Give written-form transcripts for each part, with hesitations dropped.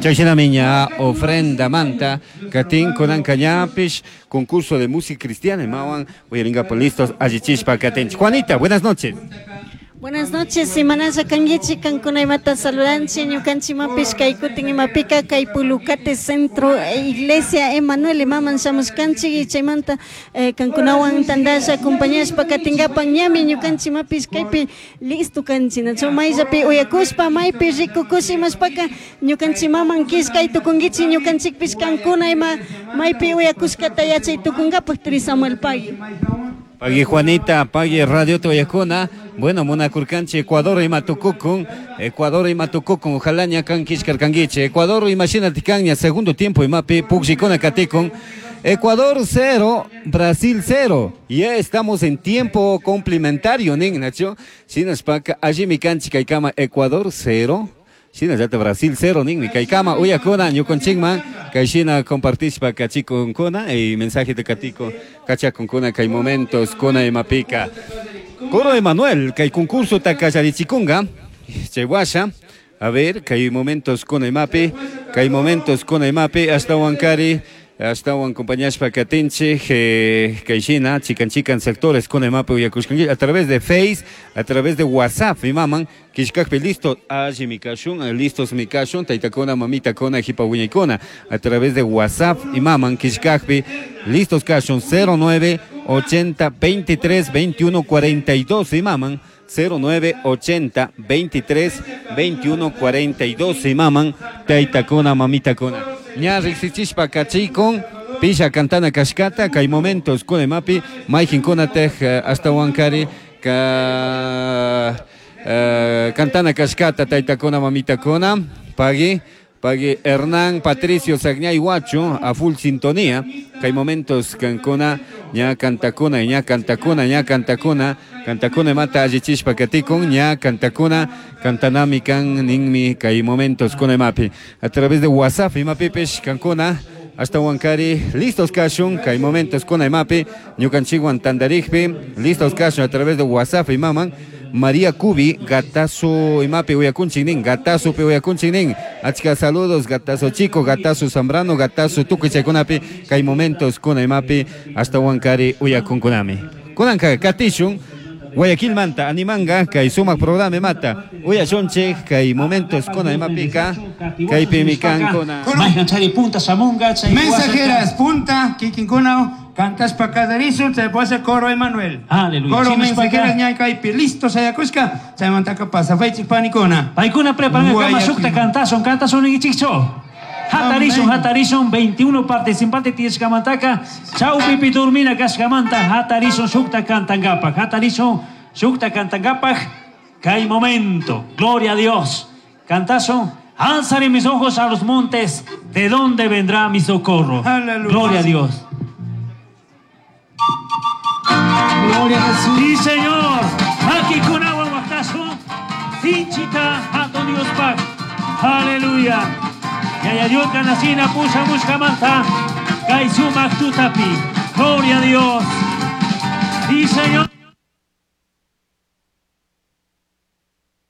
Chayshinami ña ofrendamanta katin kunanka ñapish concurso de música cristiana imawan uyarinkapak listos allichishpa katinchik. Juanita, buenas noches. Buenas noches, imanalla kankichik kankuna imata saludanchik ñukanchikmanpish kay kutin imapika kay Pulucate Centro Iglesia Emanuel imaman shamushkanchik y chaymanta kankunawan tandalla acompañashpa katinkapak ñami ñukanchikmanpish kaypi listo kanchik nachu mayllapi uyakushpa maypi rikukush imashpaka ñukanchikmaman killkay tukunkichik ñukanchikpish kankuna ima maypi uyakushkata yachay tukunkapak turi Samuel pagui. Pagui Juanita, pagui radiota uyakuna, bueno munakurkanchik Ecuador ima tukukun, Ecuador ima tukukun, ojalá ña kan killkarkankichik, Ecuador imashinatik kan ña segundo tiempo imapi pukllikuna katikun, Ecuador 0, Brasil 0, ya estamos en tiempo complementario nin, nachu? Shinashpaka allimi kanchik kaykama Ecuador 0, Shinallata Brasil 0 ninmi kaykama uyakuna ñukunchikman kayshina compartishpa kachikunkuna y mensajeta katiko kachakunkuna kay momentos kuna imapika. Coro Emanuel kay concursota kallarichikunga chay washa a ver kay momentos kuna imapi kay momentos kuna imapi ashtawankari ashtawan acompañashpa katinchik kayshina chikan chikan sectores kuna imapi uyakushkanchik a través de Face, a través de WhatsApp imaman killkakpi listo allimi kashun, listos mi kashun, taytakuna, mamitakuna, jipa wiñaykuna a través de WhatsApp imaman killkakpi listos kashun 09 80 23 21 42 imaman 09 80 23 21 42 imaman taytakuna, mamitakuna. Ña riksichishpa kachikun pisha kantana kashkata kay momentos kuna imapi mayqinkunataq ashtawankari ka kantana kashkata taytakuna mamitakuna pagui pagui Hernán Patricio Sagñay Huacho a full sintonía kay momentos kankuna ña kantakuna ña kantakuna ña kantakuna kantakuna imata allichishpa katikun ña kantakuna kantanami kan ninmi kay momentos kuna imapi a través de WhatsApp imapipish kankuna ashtawankari listos kashun kay momentos kuna imapi ñukanchikwan tantarikpi listos kashun a través de WhatsApp imaman María Cubi, Gatazo imapi uyakunchik nin, Gatazo pi uyakunchik nin, achka saludos, Gatazo Chico, Gatazo Zambrano, Gatazo tukuy chaykunapi, kay momentos kuna imapi, ashtawankari uyakunkunami. Kunanka katishun, Guayaquilmanta, animanga, kay sumak programa imata, uyashunchik, kay momentos kuna imapika, kaypi mikankuna. Punta shamunga, chay Mensajeras, punta, kikinkuna, cantaspa kallarisun, chay pasa coro Emanuel. Aleluya. Coro Chinashpaka. mensajeras ñaykaypi, listo sayakushka, chaymantaka pasafaychik panikuna. Paykuna preparan kama Guayaquil. shukta cantasun, cantasun ninkichikchu. Hatarishun, hatarishun, 21 participantes tiyashkamantaka, chawpipi durmina kashkamanta, hatarishun shukta kantankapak, hatarishun shukta kantankapak, kay momento, gloria a Dios. Cantasun, alzaré mis ojos a los montes, ¿de dónde vendrá mi socorro? Aleluya. Gloria a Dios. Gloria a Jesús. Sí, Señor. Aquí con agua guatazo. Sinchita a Dios pak. Aleluya. Yaya Dios canacina pusa muscamanta. Kai sumak tutapi. Gloria a Dios. Sí, Señor.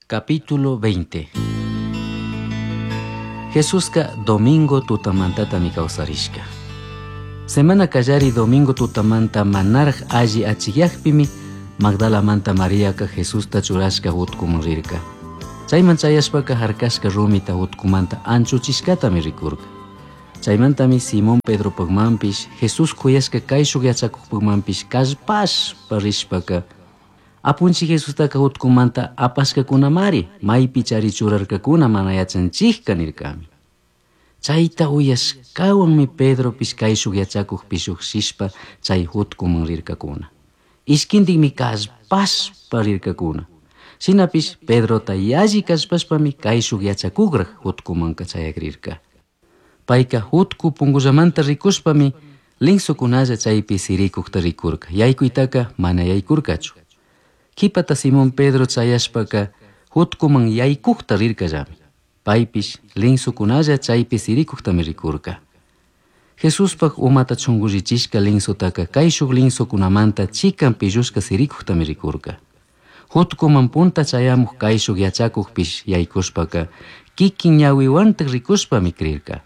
Capítulo 20. Jesuska domingo tutamantata mi kawsarishka. Semana kallari domingo tutamanta manaraj alli achiyakpimi Magdalamanta Mariaka Jesusta churashka utkuman rirka. Chayman chayashpaka harkashka rumita utkumanta anchuchishkatami rikurka. Chaymantami Simón Pedropakmanpish Jesús kuyashka kayshuk yachakukpakmanpish kallpashpa rishpaka Apunchik Jesustaka utkumanta apashkakunamari maypi chari churarkakuna mana yachanchikka nirkami. Chayta uyashkawanmi Pedropish kayshuk yachakukpish lluqshishpa chay utkuman rirkakuna. Ishkintikmi kallpashpa rirkakuna. Shinapish Pedrota yalli kallpashpami kayshuk yachakukraj utkumanka chayakrirka. Payka utku punkullamanta rikushpami linsokunalla chaypi sirikukta rikurka. Yaykuytaka mana yaykurkachu. Kipata Simón Pedro chayashpaka utkuman yaykukta rirkallami. Paypish linsokunalla chaypi sirikuktami rikurka. Jesuspak umata chunkullichishka linsotaka kayshuk linsokunamanta chikan pillushka sirikuktami rikurka. Utkuman punta chayamuk kayshuk yachakukpish yaykushpaka Kikin ñawiwantaj rikushpami crirka.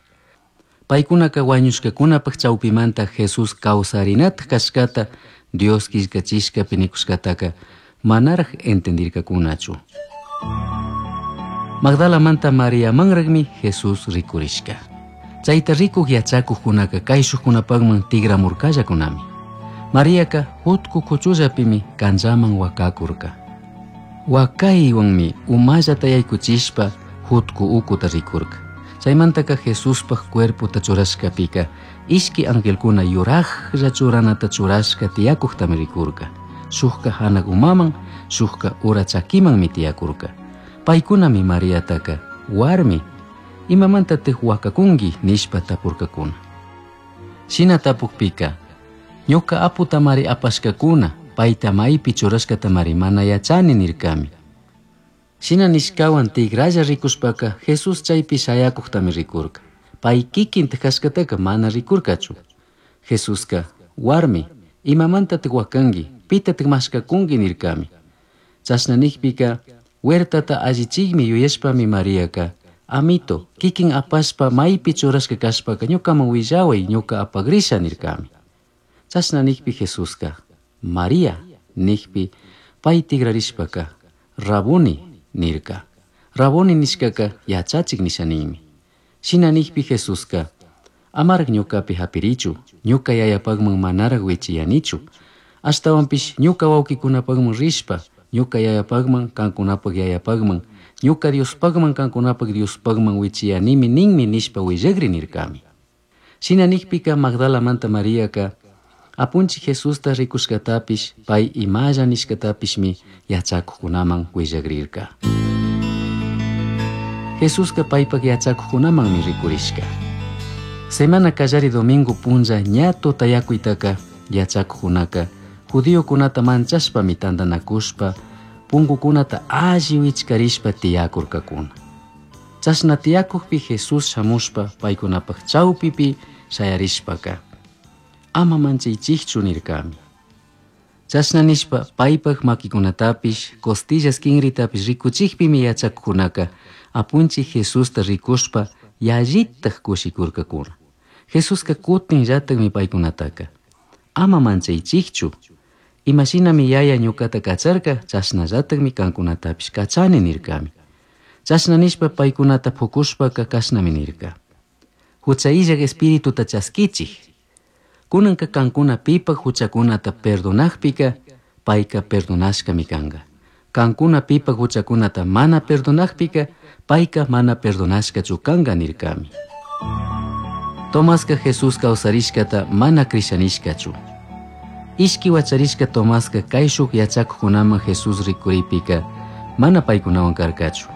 Paykunaka wañushkakunapaj chawpimanta Jesús kawsarinataj kashkata Dios killkachishkapi nikushkataka manaraj entendirkakunachu. Magdalamanta Mariamanraqmi Jesús rikurishka. Chayta rikuq yachakuqkunaka kayshuqkunapaqman tigramurkallakunami. Mariaka hutku kuchullapimi kanllaman wakakurka. Wakaywanmi umallata yaykuchishpa hutku ukuta rikurka. Chaymantaka Jesuspaj cuerpota churashkapika ishki angelkuna yurajlla churanata churashka tiyakuqtami rikurka. Shukka hanaq umaman, shukka ura chakimanmi tiyakurka. Paykunami Mariataka warmi imamantataq wakakunki nishpa tapurkakuna. Shina tapukpika ñuka aputamari apashkakuna payta maypi churashkatamari mana yachani nirkami. Shina nishkawan tigralla rikushpaka Jesús chaypi shayakuqtami rikurka. Pay kikintaj kashkataka mana rikurkachu. Jesuska warmi imamantataq wakanki pitataq mashkakunki nirkami. Chashna nikpika huertata allichikmi yuyashpami Mariaka amito kikin apashpa maypi churashka kashpaka ñukaman willaway ñuka apagrisha nirkami. Chashna nikpi Jesuska María nikpi pay tigrarishpaka Rabuni nirka. Rabuni nishkaka yachachik nisha ninmi. Shina nikpi Jesuska amaraq ñukapi hapirichu ñuka yayapaqman manaraq wichiyanichu. Ashtawanpish ñuka wawqikunapaqman rishpa ñuka yayapaqman kankunapaq yayapaqman ñuka Diospaqman kankunapaq Diospaqman wichiyanimi ninmi nishpa willakri nirkami. Shina nikpika Magdalamanta Mariaka apunchik Jesusta rikushkatapish pay imalla nishkatapishmi yachakuqkunaman willakrirka. Jesuska paypak yachakuqkunamanmi rikurishka. Semana kallari domingo punlla ña tutayakuytaka yachakuqkunaka judiokunata manchashpami tantanakushpa punkukunata alli wichkarishpa tiyakurkakuna. Chashna tiyakukpi Jesús shamushpa paykunapaq chawpipi shayarishpaka ama manchaychikchu nirkami. Chashna nishpa paypak makikunatapish costillas kinritapish rikuchikpimi yachakuqkunaka apunchik Jesusta rikushpa yallitaj kushikurkakuna. Jesuska kutinllatakmi paykunataka ama manchaychikchu imashinami yaya ñukata kacharka chashnallatakmi kankunatapish kachani nirkami. Chashna nishpa paykunata pukushpaka kashnami nirka. Hucha illak espirituta chaskichik. Kunanka kankuna pipak huchakunata perdonakpika payka perdonashkami kanka. Kankuna pipak huchakunata mana perdonakpika payka mana perdonashkachu kanka nirkami. Tomaska Jesús kawsarishkata mana krishanishkachu. Ishki wacharishka Tomaska kayshuk yachakuqkunaman Jesús rikuripika mana paykunawan karkachu.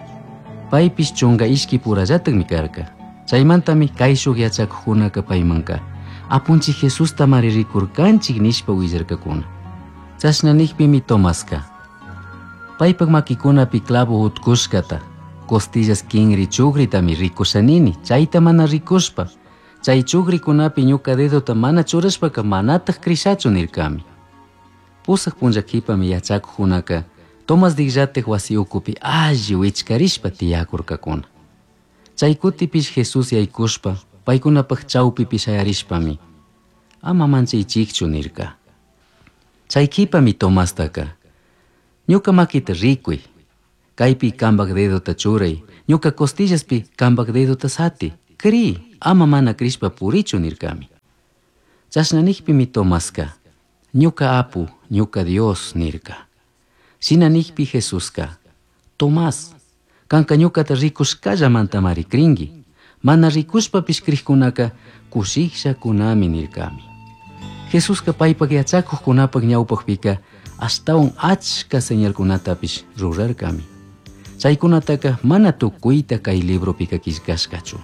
Paypish chunka ishki purallatakmi karka. Chaymantami kayshuk yachakuqkunaka paymanka apunchik Jesusta mari rikurkanchik nishpa willarkakuna. Chashna nikpimi Tomaska paypak makikunapi clavo utkushkata costillas kinri chukritami rikushanini chayta mana rikushpa chay chukrikunapi ñuka dedota mana churashpaka manataj krishachu nirkami. Pusaq punlla qhipami yachakuqkunaka Tomas dillatik wasi ukupi alli wichkarishpa tiyakurkakuna. Chay kutipish Jesús yaykushpa paykunapaq chawpipi shayarishpami ama manchaychikchu nirka. Chay qhipami Tomastaka ñuka makita rikuy kaypi kampak dedota churay ñuka costillaspi kampak dedota sati kri ama mana krishpa purichu nirkami. Chashna nikpimi Tomaska ñuka apu ñuka Dios nirka. Shina nikpi Jesuska Tomás kanka ñukata rikushkallamantamari krinki mana rikushpapish krikkunaka kushikllakunami nirkami. Jesuska paypak yachakuqkunapak ñawpaqpika ashtawan achka señalkunatapish rurarkami. Chaykunataka mana tukuyta kay libropika killkashkachu.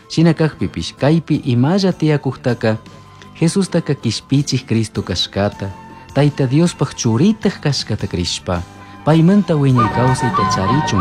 Shina kaqpipish kaypi imalla tiyakuqtaka Jesustaka kishpichik Cristo kashkata, Tayta Diospaq churitaj kashkata krishpa, paymanta wiñay kawsayta charichun.